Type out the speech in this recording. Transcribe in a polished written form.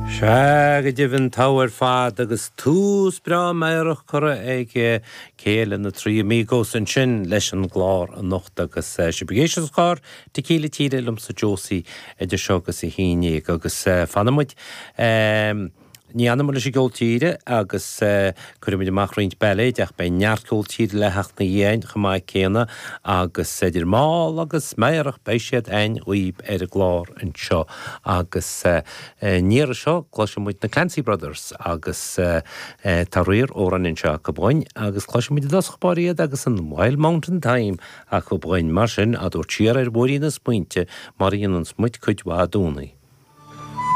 Sea, go deimhin, togha ar fad agus tús breá meidhreach curtha ag cé eile na Three Amigos ansin leis an gclár anocht agus sibh ag éisteacht leis an gclár Tequila Tíre liomsa Josie idir seo agus a 11 agus fanfaidh muid Ní fhanfaidh muid leis an gceol tíre agus cuirfidh muid amach roinnt bailéid ach beidh neart ceol tíre le theacht ina dhiaidh chomh maith céanna agus idir mall agus meidhreach beidh siad a'inn dhaoib ar an gclár anseo agus an iarraidh seo cloisfidh muid na Clancy Brothers agus tá riar amhráin anseo acu dhúinn agus cloisfidh muid i dtosach báire iad agus an Wild Mountain Thyme acu dhúinn mar sin á dtabhairt siar ar mhúirín na smaointe mar a dhéananns muid cuid mhaith i gcónaí.